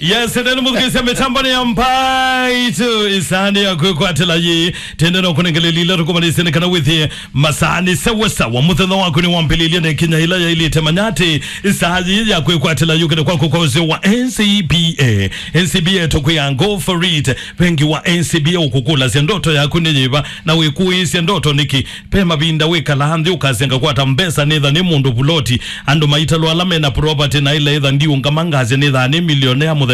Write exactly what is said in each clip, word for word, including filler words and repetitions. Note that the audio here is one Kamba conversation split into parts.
Yes, nene mũthukĩĩsya mĩtambo nĩ ya Mbaitũ, ĩsaa nĩ ya kwĩkwatĩla yĩ. Tende no kũnengelelile tũkũmanĩsye nĩ kana wĩthĩe masaa nĩ sawa sawa. Mũthenya waku nĩ wambĩlĩlye nĩ kinya ĩla yaĩlĩte. Manya atĩ ĩsaa yĩ ya kwĩkwatĩla yũkĩte kwaku kwa ũseo wa N C B A. N C B A tũkwĩa go for it. Vengi wa N C B A ũkũkũlasya ndoto yaku nĩ yĩva na wĩkũĩĩsya ndoto nĩkĩ. Ve mavinda wĩkalaa nthĩ ũkasya ngakwata mbesa nĩtha nĩ mũndũ vuloti. Andũ maitalwa ala mena property na ila ĩtha ndiũngama ngasya nĩtha nĩ millionaire mũthemba.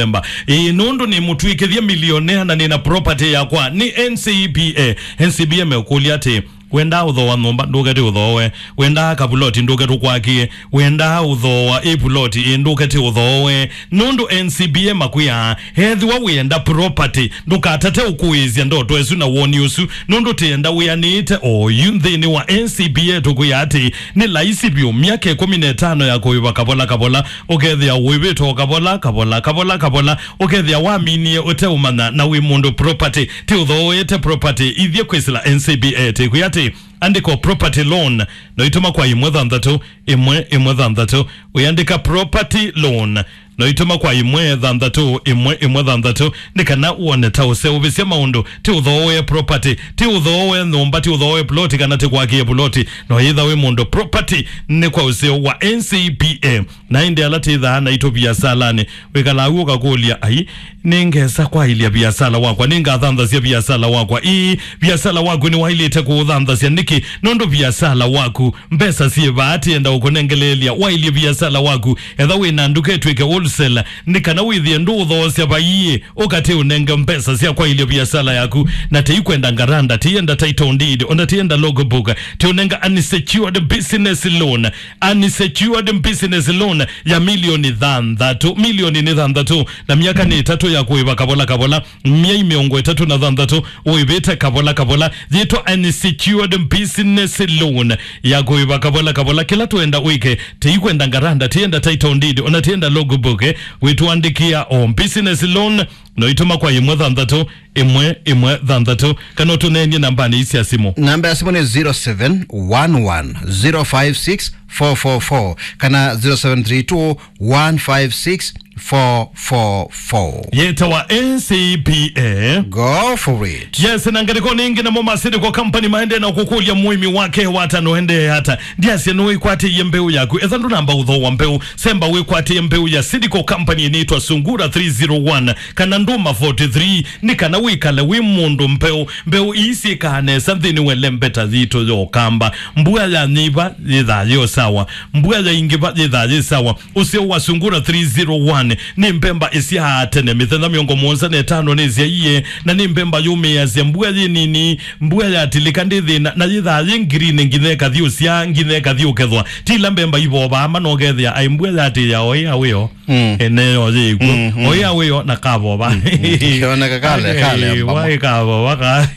Ĩĩ, nũndũ nĩ mũtw'ĩkĩthye millionaire na nĩna property yakwa nĩ N C B A. N C B A meũkũlya atĩ, wendaa ũthooa nyũmba, ndũkete ũthooe. Wendaa kavuloti, ndũkete ũkwakĩe. Wendaa ũthooa ĩ vuloti, ĩ ndũkete ũthooe. Nũndũ N C B A makwĩaa, ethĩwa wĩenda property, ndũkatate ũkũĩĩsya ndoto ĩsu na woni ũsu, nũndũ tĩenda wĩanĩĩte oyu. Nthĩnĩ wa N C B A tũkwĩa atĩ nĩ laisi vyũ, myaka ĩkũmi na ĩtano ya kũĩva kavola kavola, ũkethĩa ũĩvĩte o kavola kavola kavola kavola, ũkethĩa waminie ũteũmanya na wĩ mũndũ property, tĩ ũthooete property ithyĩ kwĩsĩla N C B A. Tĩkwĩa atĩ andĩko property loan, no itũma kwa ĩmwe thanthatũ, ĩmwe, ĩmwe thanthatũ. Wĩandĩka property loan, no itũma kwa ĩmwe thanthatũ, ĩmwe, ĩmwe thanthatũ, nĩ kana wone ta ũseũvĩsya maũndũ. Ti ũthooe property, ti ũthooe nyũmba, ti ũthooe ploti, kana ti kwakĩe ploti. No yĩtha wĩ mũndũ property, nĩ kwa ũseo wa N C B A. Na ĩndĩ ala tĩthaa naitũ viasalanĩ, wĩkalaa w'o ũkakũlya, ai, nĩngesa kwaĩlya viasala wakwa, nĩngathanthasya viasala wakwa. Ĩĩ, viasala waku nĩwaĩlĩte kũũthanthasya. Nĩkĩ? Nũndũ viasala waku, mbesa syĩ vaa, tienda ũkũnengeleelya waĩlye viasala waku. Etha wĩ na nduka ĩtw'ĩke wholesale, nĩ kana wĩthĩe ndũũthoosya vaiĩ, ũkatĩ ũnenge mbesa sya kwaĩlya viasala yaku. Na tĩikwenda ngaranda, tienda title deed, ona tienda logbook, tiũnenga unsecured business loan. Unsecured business loan ya milioni thanthatũ, milioni nĩ thanthatũ, na myaka nĩ ĩtatũ ya kũĩva kavola kavola, myei mĩongo ĩtatũ na thanthatũ ũĩvĩte kavola kavola. Yĩtwa unsecured business loan ya kũĩva kavola kavola. Kĩla twenda wĩke, tĩikwenda ngaranda, tienda title deed, ona tienda logbook, eh, wĩtũandĩkĩa o business loan, no itũma kwa ĩmwe thanthatũ, ĩmwe, ĩmwe thanthatũ, kana ũtũneenie nambanĩ ii sya simũ. Namba ya simũ nĩ zero seven one one zero five six four four four kana zero seven three two one five six four four four. Yĩtawa N C B A. Go for it. Yes, na ngalĩko nĩ ĩngĩ namo ma Seed Co Company maendee na kũkũlya mũĩmi wake wata no endee ata. Ndiasya nĩwĩkwatĩie mbeũ yaku. Etha ndũnamba ũthooa mbeũ, semba wĩkwatĩe mbeũ ya Seed Co Company ĩnĩtwa Sungura three zero one kana Ndũma forty-three, nĩ kana wĩkale wĩ mũndũ mbeũ. Mbeũ ii syĩkaa nesa nthĩnĩ wa ĩlembeta yitũ ya Ũkamba. Mbua yanyiva yĩthaa yĩ o sawa, mbua yaingĩva yĩthaa yĩ sawa. Ũseo wa Sungura three zero one nĩ mbemba ĩsyaa tene, mĩthenya mĩongo mũonza na ĩtano nĩsyaie, na nĩ mbemba yũmĩĩasya mbua yĩ nini. Mbua yatilĩka ndĩ thĩna, na yĩthaa yĩ ngirini nginya ĩkathi ũsyaa, nginya ĩkathi ũkethwa. Ti ila mbemba ivovaa mana ũkethĩa, ai, mbua yatĩĩa o ĩa wĩo. Mm. Ene yo yĩkw'o. Mm, mm. O ĩa wĩo na kavova. Mm, mm. Kĩoneka kale, kalemba. Ai, waĩ kavova ka.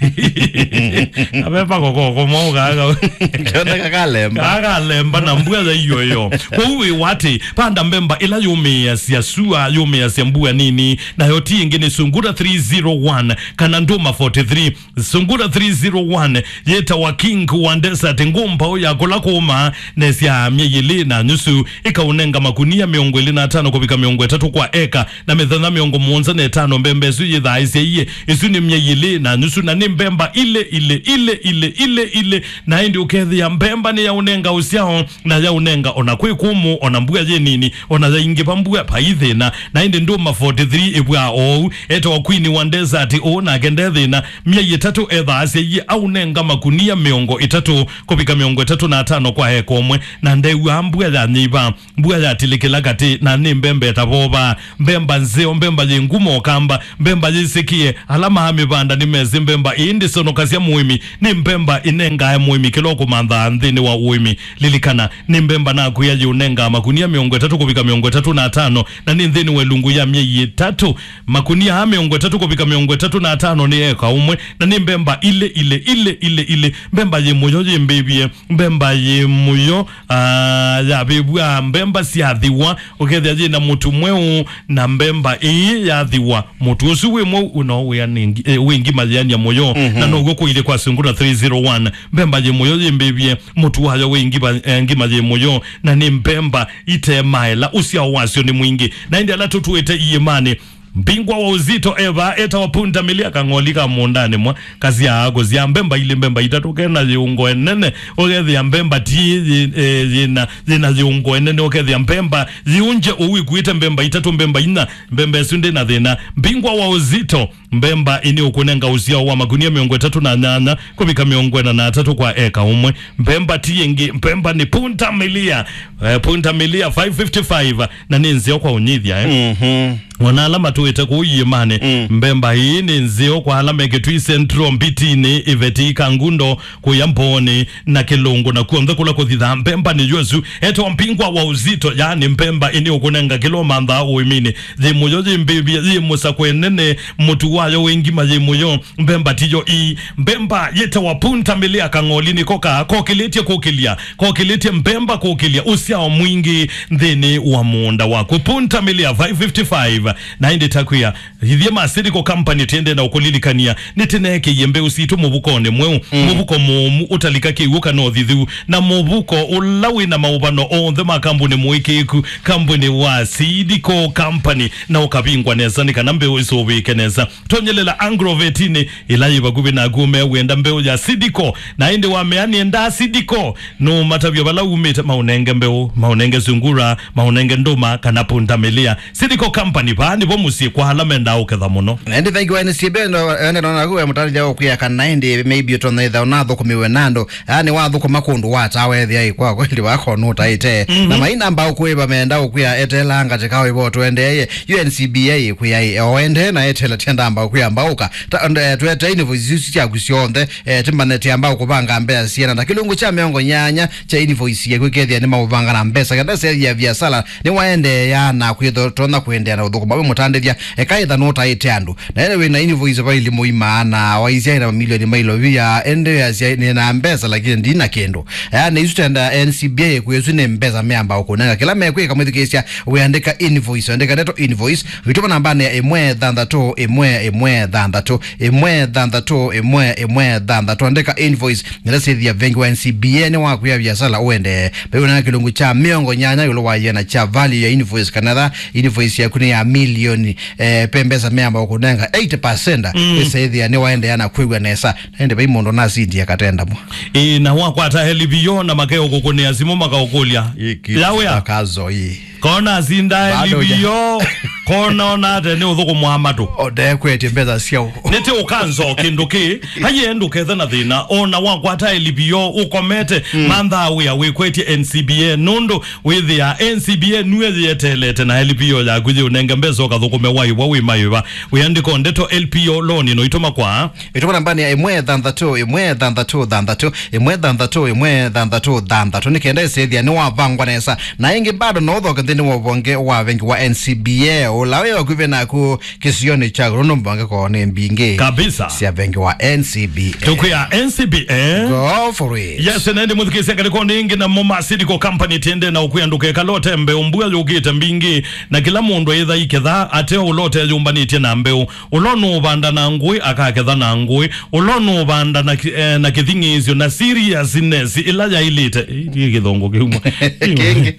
Kaveva kokoko mau kaka. Kĩoneka kalemba. Kakalemba na mbua ya iyo yo. Kwoou wĩ watĩ, panda mbemba ĩla yũmĩĩasya sua, yũmĩĩasya mbua nini, nayo ti ĩngĩ nĩ Sungura three zero one kana Ndũma forty-three. Sungura three zero one yĩtawa King wa Desert, ngũ mbaũ ya kũla kũũma, nesya myei ĩlĩ na nyusu, ĩkaũnenga makunia mĩongo ĩlĩ na atano kũvika mĩongo ĩtatũ kwa eka, na mĩthenya mĩongo mũonza na ĩtano mbemba ĩsu yĩthaa ĩsyaie. Ĩsu nĩ myei ĩlĩ na nyusu, na nĩ mbemba ilĩ, ilĩ, ilĩ, ilĩ, ilĩ, ilĩ, na ĩndĩ ũkethĩa mbemba nĩyaũnenga ũsyao, na yaũnenga ona kwĩ kũmũ, ona mbua yĩ nini, ona yaingĩva mbua vai thĩna. Na ĩndĩ Ndũma forty-three ĩvw'aa oou, etawa Queen wa Desert ũũ, nake nde thĩna. Myei ĩtatũ ethaa asyaie aũnenga makunia mĩongo ĩtatũ kũvika mĩongo ĩtatũ na atano kwa eka ũmwe, na ndew'aa mbua yanyiva, mbua yatilĩkĩla katĩ, na nĩ mbemba ĩtavovaa, mbemba nzeo, mbemba yĩ ngumo ũkamba, mbemba yĩsĩkĩe. Ala maamĩvanda nĩmesĩ mbemba ĩĩ ndĩsonokasya mũĩmi, nĩ mbemba ĩnengae mũĩmi kĩla ũkũmanthaa nthĩnĩ wa ũĩmi. Lilikana, nĩ mbemba nakwĩa yĩũnengaa makunia mĩongo ĩtatũ kũvika mĩongo ĩtatũ na atano, na nĩ nthĩnĩ wa ĩlungu ya myei ĩtatũ. Makunia aa mĩongo ĩtatũ kũvika mĩongo ĩtatũ na atano nĩ eka ũmwe, na nĩ mbemba ilĩ, ilĩ, ilĩ, ilĩ, ilĩ. Mbemba yĩ mũyo yĩmbĩvye, mbemba yĩ mũyo, ah, yavĩvw'a, mbemba syathiwa, ũkethĩa yĩ na mũtu mweũ, na mbemba ĩĩ yathiwa, mũtu ũsu wĩ mweũ, no wĩa nĩ ngi-, eh, wĩ ngima yĩany'a mũyo. Mhm. Na now'o kũilye kwa Sungura three zero one. Mbemba yĩ mũyo yĩmbĩvye, mũtu wayo wĩ ngima, eh, ngima yĩ mũyo, na nĩ mbemba itemaela, ũsyao wasyo nĩ mwingĩ. Na ĩndĩ ala tũtũĩte iĩmanĩ, Mbingwa wa Uzito eva etawa Punda Milia, kang'oli ka mũũndanĩ mwa kasyaa kũsyaa mbemba ilĩ, mbemba itatũ, kena yĩungo enene, ũkethĩa mbemba ti yĩ, eh, yĩna, yĩna yĩungo enene, ũkethĩa mbemba yĩunje ũu ikuĩte mbemba itatũ, mbemba inya, mbemba ĩsu ndĩna thĩna. Mbingwa wa Uzito, mbemba ĩnĩ ũkũnenga ũsyao wa makunia mĩongo ĩtatũ na nyanya kũvika mĩongo ĩna na atatũ kwa eka ũmwe. Mbemba ti yĩngĩ, mbemba nĩ Punda Milia, eh, Punda Milia five fifty-five, na nĩ nzeo kwa ũnyithya, eh. Mhm. Ona ala matũĩte kũu iĩmanĩ, mm, mbemba ĩĩ nĩ nzeo kwa ala me Kitui Central, Mbitinĩ, Iveti, Kangundo, kũya Mbooni na Kĩlũngũ, na kuonthe kũla kũthithaa mbemba nĩ yũsu. Etawa Mbingwa wa Uzito, yaani mbemba ĩnĩ ũkũnenga kĩla ũmanthaa ũĩminĩ. Yĩ mũyo, yĩ mbĩvya, yĩ mũsakwe nene, mũtu wayo wĩ ngima, yĩ mũyo. Mbemba tiyo ii. Mbemba yĩtawa Punda Milia, kang'oli nĩko ka kokĩlĩtye kũkĩlya, kokĩlĩtye mbemba kũkĩlya ũsyao mwingĩ nthĩnĩ wa mũũnda waku. Punda Milia five fifty-five, na ĩndĩ takwĩa, ithyĩ ma Seed Co Company tiende na ũkũlilikania, nĩtĩneekĩie mbeũ sitũ mũvukonĩ mweũ, mm, mũvuko mũũmu ũtalika kĩw'ũ kana ũthithu, na mũvuko ũla wĩ na maũvano onthe ma kambuni mũĩkĩĩku, kambuni wa Seed Co Company, na ũkavingwa nesa nĩ kana mbeũ isũvĩke nesa. Tonyelela Agrovetinĩ ĩla yĩ vakuvĩ naku, ũmea wĩenda mbeũ ya Seed Co, na ĩndĩ wamea nĩendaa Seed Co, nũũmatavya vala umĩte, maũnenge mbeũ, maũnenge sungura, maũnenge ndũma, kana Punda Milia. Seed Co Company, vaa nĩvo mũsyĩ kwa ala mendaa ũketha mũno. Na ĩndĩ thank you, N C B, no, ende nona kuwe mũtarĩthya ũkwĩa kana ĩndĩ maybe ũtonya ĩtha ũnathũkũmiwe na andũ, yaani wathũkũma kũndũ watawa ethĩa ĩ kwa kweli wako nũtaĩte. Mhm. Na maina mbaũ kwĩva menda ũkwĩa etela ngatika wĩvo twendeeye. U N C B A ĩkwĩa ĩ, o ende na etela tienda mbaũ kwĩa mbaũka. Ta, nde, twete invoice isu syaku syonthe, eh, timbanete amba ũkũvanga mbesa syana. Na kĩlungu kya mĩongo nyanya kya invoice yaku kethĩa nĩ maũvanga na mbesa. Kenda sethia viasala, nĩwaendeea na kwĩtho tonya kũendeea na ũthũkũma wĩ mũtandĩthya, eka ĩtha nũtaĩte andũ. Na ene wĩna invoice va ilimu imaana, waisya ĩna mamilioni ma ilovia, ende yasya nĩna mbesa lakini ndina kĩndũ. Yaani isu tenda N C B A kwĩ isu nĩ mbesa meamba ũkũnenga. Kĩla mekwĩka mwĩthukĩĩsya, wĩandĩka invoice, andĩka ndeto invoice, wĩtũma nambanĩ ya ĩmwe thanthatũ ĩmwe ĩmwe thanthatũ, ĩmwe thanthatũ ĩmwe ĩmwe thanthatũ, andĩka invoice. Nĩla sĩthia vengi wa N C B A nĩ wakwĩa viasala ũendee. Mbeũ na kĩlungu kya mĩongo nyanya ĩũlũ wa yĩana kya value ya invoice, kana tha invoice yaku nĩ ya milioni, eh, pe mbesa meamba ũkũnenga eighty percent, mm, ĩsethĩa nĩ waendeea na kwĩw'a nesa. Na ĩndĩ vai mũndũ nasindie katenda mwa. Ĩĩ, na wakwata L P O na makeo kũkũnĩa simũ makaũkũlya. Ĩĩ, ki-, ya wĩa? Akazo ĩĩ. Kona asinda Bado L P O, kona ona ate nĩ ũthũkũmwa matũ. Ondekwetye mbesa syao. Nĩtĩ ũkanzo kĩndũ kĩ, aye ndũkethe na thĩna, ona wakwata L P O, ũkomete, mm, manthaa wĩa wĩkwetye N C B A, nũndũ wĩthĩa N C B A nue yĩeteelete na L P O yaku yĩũnenge mbesa ũkathũkũme waĩwa wĩ maĩva. Wĩandĩko ndeto L P O loan no itũma kwa. Ĩtũma nambanĩ ya ĩmwe thanthatũ ĩmwe thanthatũ thanthatũ, ĩmwe thanthatũ ĩmwe thanthatũ thanthatũ, nĩ kenda ĩsethĩa nĩ wavangwa nesa. Na ĩngĩ bado no ũthoke nthĩnĩ wa ũvonge wa vengi wa N C B A, ũla wĩ vakuvĩ naku kĩsionĩ kya Gũrũ, nũmbange koo nĩ mbingĩ kabisa sya vengi wa N C B A. Tũkwĩa N C B A. Go for it. Yes, na ĩndĩ mũthukĩĩsya ngalĩko nĩ ĩngĩ na mo ma Seed Co Company tiende na ũkwĩa ndũkekala ũte mbeũ, mbua yũkĩte mbingĩ, na kĩla mũndũ aitha iketha ate ũla ũteyũmbanĩtye na mbeũ. Ũla ũnũũvanda na ngũĩ akaketha na ngũĩ. Ũla ũnũũvanda na ki-, eh, na kĩthing'ĩĩsyo na seriousness ĩla yaĩlĩte. Ĩ, ĩ kĩthongo kĩu mwa. Kĩngĩ.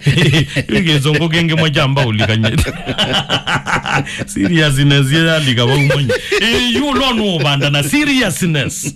Ĩ kĩthongo kĩngĩ mwa kyamba ũlikanyĩte. Seriousness ĩyo yalika vau mwenye. Ĩ, yu ũla ũnũũvanda na seriousness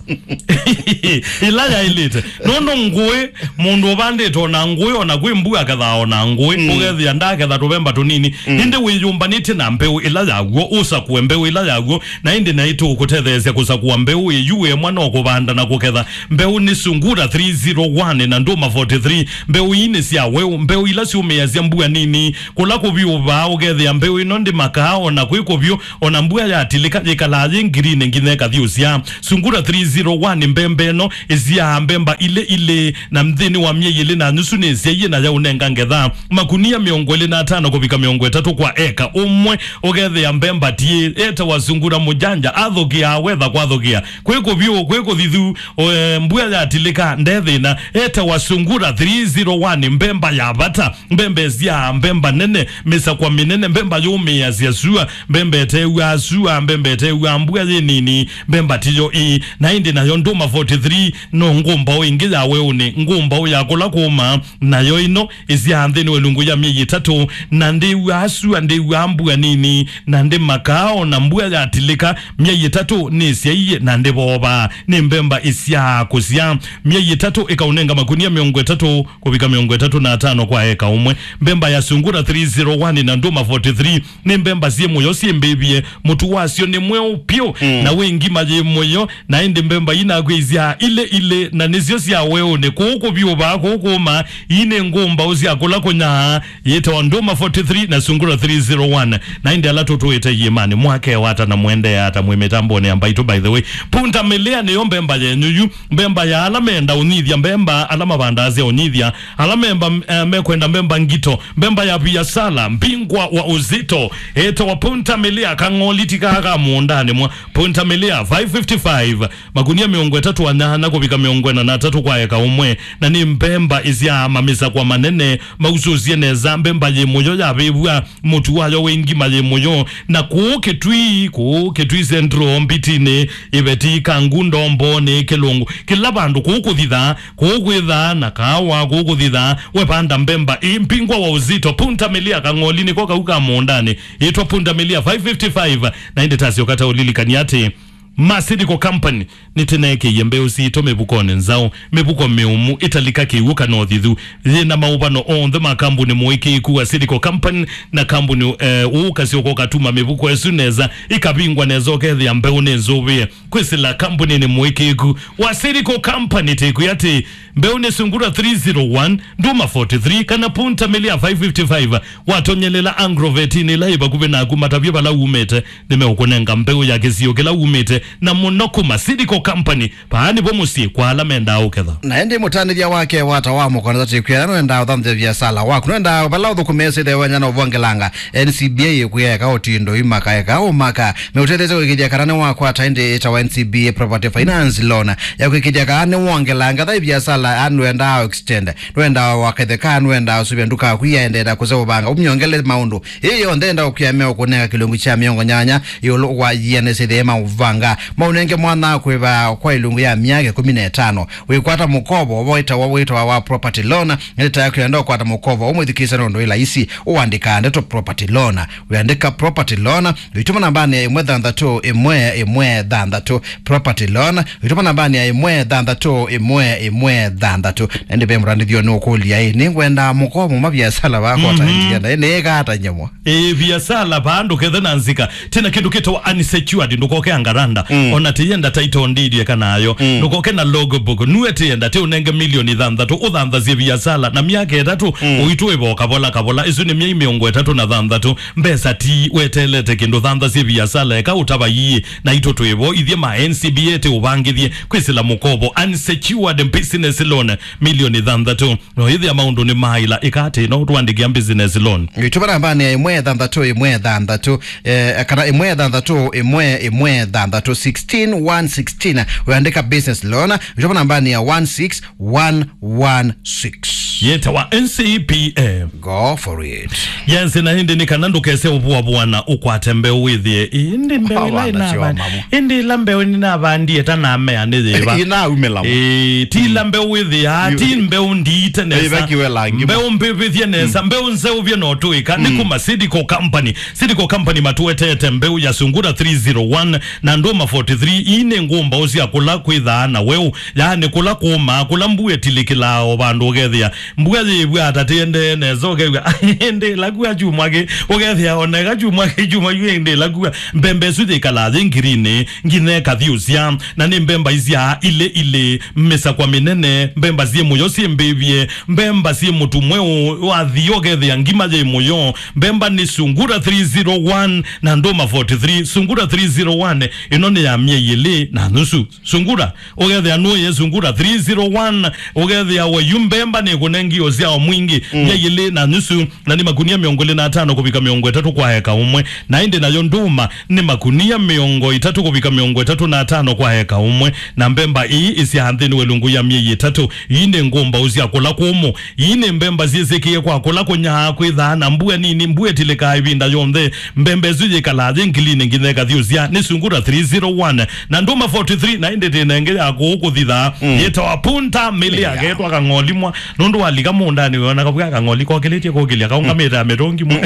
ĩla yaĩlĩte. Nũndũ ngũĩ, mũndũ ũvandĩte ona ngũĩ, ona kwĩ mbua akethaa ona ngũĩ. Mm. Ũkethĩa ndaketha tũvemba tũnini. Mm. Ĩndĩ wĩyũmbanĩtye na mbeũ ĩla yaw'o, ũsakũe mbeũ ĩla yaw'o, na ĩndĩ naitũ ũkũtetheesya kũsakũa mbeũ ĩyu wĩ mwa no kũvanda na kũketha. Mbeũ nĩ Sungura three zero one na Ndũma forty-three. Mbeũ ii nĩ sya weũ, mbeũ ila syũmĩasya mbua nini. Kũla kũvyũ vaa ũkethĩa mbeũ ĩno ndĩmakaa ona kwĩ kũvyũ, ona mbua yatilĩka yĩkalaa yĩ ngirini nginya ĩkathyũsya. Sungura three zero one mbemba ĩno ĩsyaa mbemba ilĩ ilĩ, na nthĩnĩ wa myei ĩlĩ na nusu nĩsyaie na yaũnenga ngetha makunia mĩongo ĩlĩ na atano kũvika mĩongo ĩtatũ kwa eka ũmwe. Ũkethĩa mbemba tiĩ, etawa Sungura mũjanja, athũkĩaa wetha kwathũkĩa. Kwĩ kũvyũ, kwĩ kũthithu, o, e, mbua yatilĩka, nde thĩna. Etawa Sungura three zero one, mbemba ya vata, mbemba ĩsyaa, mbemba nene, mĩsakwa mĩnene, mbemba yũmĩ mĩasya sua, mbemba ĩtew'aa sua, mbemba ĩtew'aa mbua yĩ nini, mbemba tiyo ĩĩ. Na ĩndĩ nayo ndũma forty-three no ngũmbaũ ĩngĩ ya weũnĩ, ngũmbaũ ya kũla kũũma, nayo ĩno ĩsyaa nthĩnĩ wa ĩlungu ya myei ĩtatũ, na ndĩw'aa sua, ndĩw'aa mbua nini, na ndĩmakaa, o na mbua yatilĩka, myei ĩtatũ nĩsyaie na ndĩvoovaa. Nĩ mbemba ĩsyaa kũsyaa. Myei ĩtatũ ĩkaũnenga makunia mĩongo ĩtatũ kũvika mĩongo ĩtatũ na atano kwa eka ũmwe. Mbemba ya Sungura three zero one na Nduma forty-three nĩ mbemba syĩ mũyo syĩmbĩvye. Mũtu wasyo nĩ mweũ pyũ, mm, na wĩ ngima yĩ mũyo, na ĩndĩ mbemba inakwĩsya ilĩ ilĩ, na nĩsyo sya weũnĩ. Kũũ kũvyũvaa, kũũ kũũma, ii nĩ ngũmbaũ sya kũla kũnyaa. Yĩtawa Nduma forty-three na Sungura three zero one. Na ĩndĩ ala tũtũĩte iĩmanĩ, mwakewata na mwendeea ata mwĩ mĩtambonĩ ya Mbaitũ, by the way? Punda milia nĩyo mbemba yenyu yu, mbemba ya ala menda ũnyithya, mbemba ala mavandaa sya ũnyithya, ala memba, eh, mekwenda mbemba ngito, mbemba ya viasala, mbingwa wa uzito. Ĩtawa Punda milia, kang'oli ti kaa ka mũũndanĩ mwa. Punda milia five fifty-five, makunia mĩongo ĩtatũ na nyanya kũvika mĩongo ĩna na atatũ kwa eka ũmwe, na nĩ mbemba ĩsyaa mamĩsakwa manene, mausũsye nesa, mbemba yĩ mũyo yavĩvw'a, mũtu wayo wĩ ngima yĩ mũyo. Na kũũ Kĩtui, kũũ Kĩtui Central, Mbitinĩ, Iveti, Kangundo, Mbonĩ, Kĩlũngũ, kĩla vandũ kũũ kũthithaa, kũũ kwĩthaa na kaawa, kũũ kũthithaa, we vanda mbemba ĩ, mbingwa wa uzito, Punda milia, kang'oli nĩko kau ka mũũndanĩ, ĩtwa Punda milia five fifty-five. Na ĩndĩ tasyoka ta ũlilikani atĩ Masilico Company nĩtĩneekĩie mbeũ sitũ mĩvukonĩ nzaũ, mĩvuko mĩũmu, ĩtalika kĩw'ũ kana ũthithu, yĩna maũvano onthe ma kambuni mũĩkĩĩku wa Silico Company, na kambuni, eh, ũũ kasyoka ũkatuma mĩvuko ĩsu nesa, ĩkavingwa nesa, ũkethĩa mbeũ nĩ nzũvĩe. Kwĩsĩla kambuni nĩ mũĩkĩĩku wa Silico Company, tĩkwĩ atĩ mbeũ nĩ Sungura three zero one, Nduma forty-three, kana Punda milia five fifty-five. Watonyelela Agrovetinĩ ĩla ĩ vakuvĩ naku, matavye vala umĩte, nĩmeũkũnenga mbeũ ya kĩsio kĩla umĩte, na mũno kuma Silico Company. Vaa nĩvo mũsyĩ kwa ala mendaa ũketha. Na ĩndĩ mũtanĩthya wake wata wa mũkonza tĩkwĩa nwendaa ũthanthĩa viasala waku, nwendaa vala ũthũkũmĩĩsye ĩthewenya na ũvongelanga, N C B A ĩkwĩa eka ũtindo imaka, eka ũmaka. Meũtetheesya kũĩkĩĩthya kana nĩwakwata ĩndĩ ĩtawa N C B A Property Finance Loan ya kũĩkĩĩthya kana nĩwongelanga tha ĩviasala, aa nwendaa extend, nwendaa waketheka, nwendaa ũsuvya nduka yaku yaendeea kũseũvanga, ũmyongele maũndũ. Ĩĩ yonthe enda ũkĩa meũkũnenga kĩlungu kya mĩongo nyanya ĩũlũ wa yĩanĩsye ĩthee maũvanga. Maũnenge mwana kwĩva kwa ĩlungu ya myaka ĩkũmi na ĩtano. Wĩkwata mũkovo ũvo wĩtawa, wĩtawa wa property loan. Ĩndĩ ta kwenda ũkwata mũkovo ũmwĩthukĩĩsya nũndũ ĩ laisi, ũandĩkaa ndeto property loan. Wĩandĩka property loan, wĩtũma nambanĩ ya ĩmwe thanthatũ ĩmwe ĩmwe thanthatũ. Property loan, wĩtũma nambanĩ ya ĩmwe thanthatũ ĩmwe ĩmwe thanthatũ. Na ĩndĩ ve mũtandĩthyo nũkũlya, ĩ, nĩngwenda mũkovo ma viasala vakwa ta, mhm, ndienda, ĩ, nĩĩka ata nyamũ? Ĩ, viasala vaa ndũkethe na nzika. Tena kĩndũ kĩtawa unsecured, ndũkoke angaranda. Mm. Ona tĩyenda title deed eka nayo. Mm. Ndũkoke na logbook. Nue tĩyenda tĩ ũnenge milioni thanthatũ, ũthanthasye viasala na myaka ĩtatũ, mm, ũitũ ĩvo kavola kavola. Ĩsu nĩ myei mĩongo ĩtatũ na thanthatũ. Mbesa ti wetelete kĩndũ, thantha syĩ viasala, eka ũtava iĩ, naitũ twĩ vo, ithyĩ ma N C B A tĩ ũvangĩthye kwĩsĩla mũkovo, unsecured business loan, milioni thanthatũ. No ĩthĩa maũndũ nĩ maĩla, ĩka atĩ no tũandĩkĩa business loan. Ĩtũma nambanĩ ya ĩmwe thanthatũ ĩmwe thanthatũ, eh, kana ĩmwe thanthatũ ĩmwe ĩmwe thanthatũ, sixteen one sixteen, ũyandĩka business loan, ĩtũma nambanĩ ya one six one one six. Yĩtawa N C P A. Go for it. Yes, na ĩndĩ nĩ kana ndũkese ũvuavuana, ũkwate mbeũ wĩthĩe. Ĩndĩ mbeũ ĩla ĩnavandi-, ĩndĩ ĩla mbeũ nĩnavandie ta namea nĩ yĩva? Inaumĩla mo. Ĩĩ, ti ĩla mbeũ wĩthĩaa, ti mbeũ ndiite nesa. Mbeũ mbĩvĩthye nesa, mbeũ nzeũvye no tũĩka. Nĩ kuma Seedco Company. Seedco Company matũetete mbeũ ya Sungura three zero one na Ndũma forty-three. Ii nĩ ngũmbaũ sya kũla kwĩthaa na weũ. Yaani kũla kũũmaa, kũla mbua ĩtilĩkĩlaa o vandũ ũkethĩa. Mbua yĩĩvw'a ata tĩendee nesa ũkew'a, "Ĩndĩ ĩla kua kyumwa kĩ?" Ũkethĩa o na ĩka kyumwa kĩ, kyumwa yu ĩndĩ ĩla kua. Mbemba ĩsu yĩkalaa yĩ ngirini, nginya ĩkathyũsya. Na nĩ mbemba isyaa ilĩ ilĩ, mĩsakwa mĩnene, mbemba syĩ mũyo syĩ mbĩvye, mbemba syĩ mũtu mweũ, wathi ũkethĩa ngima yĩ mũyo. Mbemba nĩ Sungura three zero one na Ndũma forty-three. Sungura three zero one, ĩno nĩ ya myei ĩlĩ na nusu. Sungura, ũkethĩa nũye Sungura three zero one, ũkethĩa we yu mbemba nĩ kũne ngiũ sya o mwingĩ, mm, mia ilĩ na nusu, na nĩ makunia mĩongo ĩlĩ na atano kũvika mĩongo ĩtatũ kwa eka ũmwe. Na ĩndĩ nayo ndũma nĩ makunia mĩongo ĩtatũ kũvika mĩongo ĩtatũ na atano kwa eka ũmwe. Na mbemba ii isyaa nthĩnĩ wa ĩlungu ya myei ĩtatũ. Ii nĩ ngũmbaũ sya kũla kũmũ. Ii nĩ mbemba syĩsĩkĩe kwa kũla kũnyaa kwĩthaa na mbua nini, mbua ĩtilĩkaa ĩvinda yonthe. Mbemba ĩsu yĩkalaa yĩ ngilinĩ nginya ĩkathyũsya. Nĩ sungura three zero one. Na ndũma forty three, na ĩndĩ tĩnenge ya kũũ kũthithaa. Mm. Yĩtawa Punta Milia, yeah, ketwa Kang'olimwa. Nũndũ walika mũũndanĩ wĩona kavw'a kang'oli kokĩlĩtye kũkĩlya kaũngamĩte ya mĩtũngi mwa.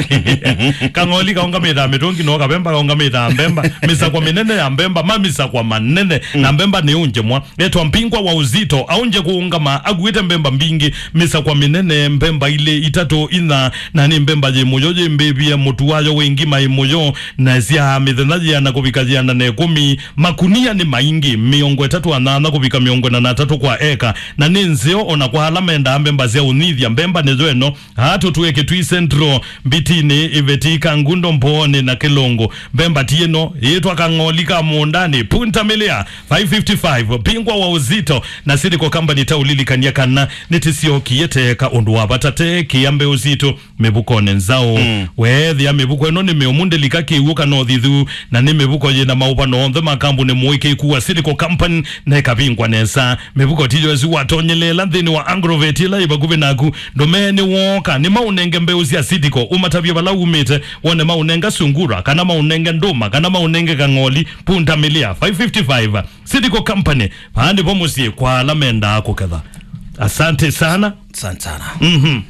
Kang'oli kaũngamĩte ya mĩtũngi no kavemba kaũngamĩte ya mbemba. Mĩsakwa mĩnene ya mbemba, ma mĩsakwa manene. Mm. Na mbemba nĩ ũnje mwa. Etwa Mpingwa wa Uzito, aũnje kũũngama, akuĩte mbemba mbingĩ, mĩsakwa mĩnene, mbemba ilĩ, itatũ, inya, na nĩ mbemba yĩ mũyo yĩ mbĩvie, mũtu wayo wĩ ngima ĩ mũyo, na sya mĩthenya yĩana kũvika yĩana na ĩkũmi, makunia nĩ maingĩ, mĩongo ĩtatũ na nyanya kũvika mĩongo ĩna na atatũ kwa eka, na nĩ nzeo ona kwa ala mendaa mbemba sya ũnyithya. Mbemba nĩyo ĩno, aa tũtwĩe Kitui Central, Mbitinĩ, Iveti, Kangundo, Mbooni na Kĩlũngũ. Mbemba ti ĩno, yĩtwa Kang'oli ka mũũndanĩ, Punta Milia, five fifty-five, Mpingwa wa Uzito, na Silico Company ta ũlilikany'a kana nĩtĩsyokie teka ũndũ wa vata te kĩa mbeũ sitũ mĩvukonĩ nzaũ. Mm. Weethĩa mĩvuko ĩno nĩ mĩũmu, ndĩlika kĩw'ũ kana ũthithu, na nĩ mĩvuko yĩna maũvano onthe ma kambuni mũĩkĩĩku wa Silico Company, na ĩkavingwa nesa. Mĩvuko tiyo ĩsu watonyelela nthĩnĩ wa Agrovet ĩla yĩ vakuvĩ naku. Ndũmee nĩ wooka, nĩ maũnenge mbeũ sya Silico, ũmatavye vala umĩte, wone maũnenga sungura, kana maũnenge ndũma, kana maũnenge kang'oli, Punta Milia, five fifty-five. Silico Company, vaa nĩvo mũsyĩ kwa ala mendaa kũketha. Asante sana. Asante sana. Mhm.